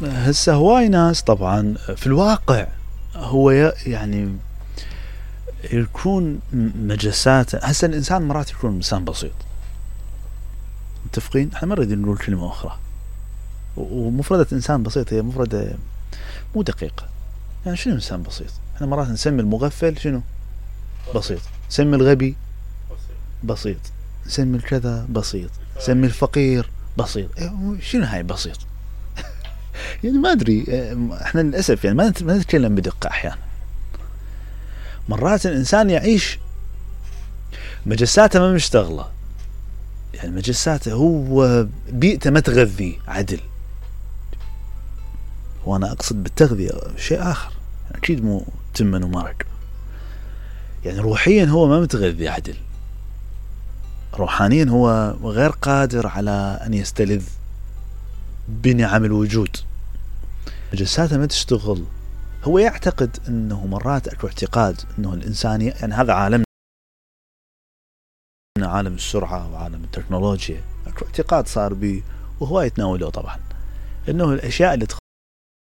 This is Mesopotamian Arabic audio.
هسه هواي ناس طبعا في الواقع هو يعني يكون مجسات. هسه الانسان مرات يكون انسان بسيط، متفقين؟ احنا ما نريد نقول كلمة اخرى، ومفردة انسان بسيط هي مفردة مو دقيقة. يعني شنو انسان بسيط؟ احنا مرات نسمي المغفل شنو؟ بسيط. نسمي الغبي بسيط، نسمي الكذا بسيط، نسمي الفقير بسيط. شنو هاي بسيط؟ يعني ما ادري. احنا للاسف يعني ما نتكلم بدقة. احيانا مرات الانسان يعيش مجساته ما مشتغلة، يعني مجساته هو بيئته ما تغذي عدل. وانا اقصد بالتغذية شيء اخر، اكيد مو تمن ومرق. يعني روحيا هو ما متغذي عدل، روحانيا هو غير قادر على ان يستلذ بنعم الوجود. مجساته ما تشتغل. هو يعتقد انه مرات اكو اعتقاد انه الانسانية، يعني هذا عالمنا، عالم السرعة وعالم التكنولوجيا، اكو اعتقاد صار بيه وهو يتناوله طبعا، انه الاشياء اللي